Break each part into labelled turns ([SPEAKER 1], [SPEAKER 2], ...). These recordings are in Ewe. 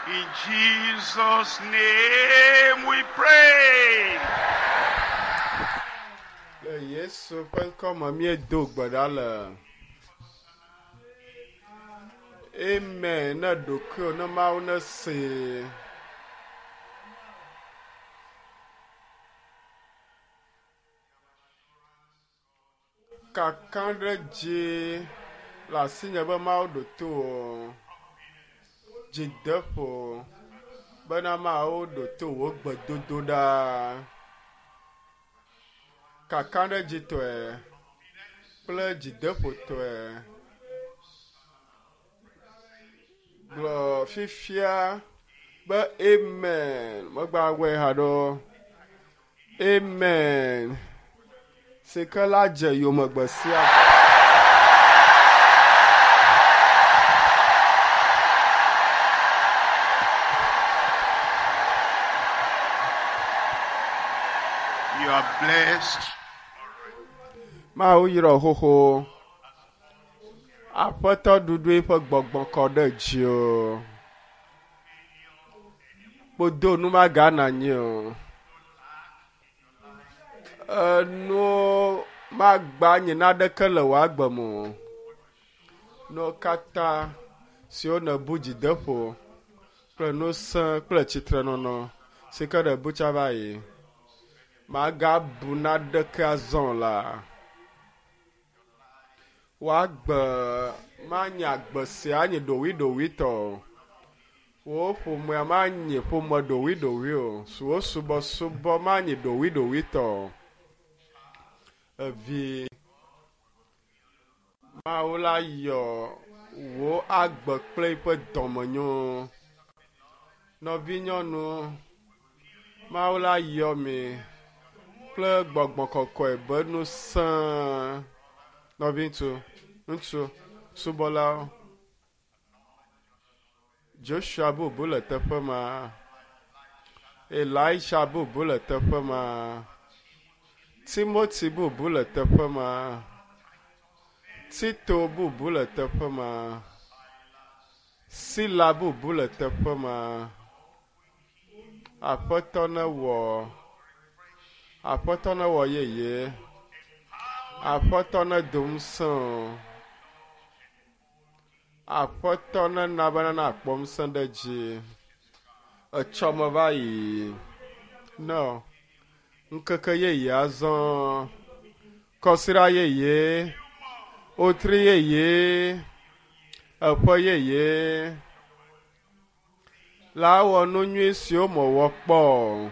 [SPEAKER 1] In Jesus' name we pray.
[SPEAKER 2] Le Yesu ƒe ŋkɔ me míedo gbe ɖa le. Amen. Ne ɖokuiwò ne Mawu nesee. Kaka ɖe dzi le asinye be Mawu ɖo to wò. Dzideƒo bena Mawu ɖo to wò gbedodoɖa. Kakaɖedzitɔe kple dzideƒotɔe. Gblɔ fifia be amen. Megbawɔe haɖe o. Amen. Si ke la dze yome gbe sia gbe.
[SPEAKER 1] You are blessed.
[SPEAKER 2] Mawu yrɔ xoxo. Aƒetɔ ɖuɖu eƒe gbɔgbɔ kɔ ɖe dziwò. Kpodo nu magana anyi o. Enuwo magba nyi naɖeke le wò agbe me o. Nuwo katã siwo nèbu dzideƒo kple ŋusẽ kple tsitrenɔnɔ si ke nèbu tsã va yi, magabu naɖeke azɔ o la. Wò agbe manye agbe sia anyi ɖowuiɖowuitɔ o. Wò ƒomea manyi ƒome ɖowuiɖowui o. Wò subɔsubɔ manyi ɖowuiɖowuitɔ o. Evi Mawu la yɔ wò agbe kple eƒe dɔmenyo. Nɔvinyɔnu, Mawu la yɔ mi kple gbɔgbɔ kɔkɔe be ŋusẽ. Nɔviŋutsu, ŋutsu, subɔlawo. Joshua bubu le teƒe ma. Elisha bubu le teƒe ma. Timothy bubu le teƒe ma. Tito bubu le teƒe ma. Sila bubu le teƒe ma. Aƒetɔ newɔ. Aƒetɔ newɔ yeye. Aƒetɔ nedo ŋusẽ o. Aƒetɔ nena bena nakpɔ ŋusẽ ɖe dzi. Etsɔme va yi. Ne ŋkeke yeye azɔ. Kɔsiɖa yeye. Wotri yeye. Eƒe yeye. La wɔ nu nyui siwo mewɔ kpɔ o.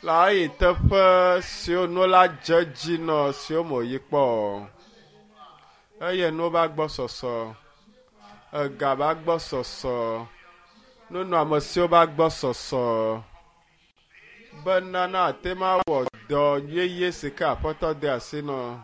[SPEAKER 2] La yi teƒe siwo nu la dze dzi nɔ siwo meyi kpɔ o. Eye nuwo va gbɔ sɔsɔ. Ega va gbɔ sɔsɔ. Nunɔamesiwo va gbɔ sɔsɔ. Bena nate ma wɔ dɔ yeye si ke Aƒetɔ de asi nɔ.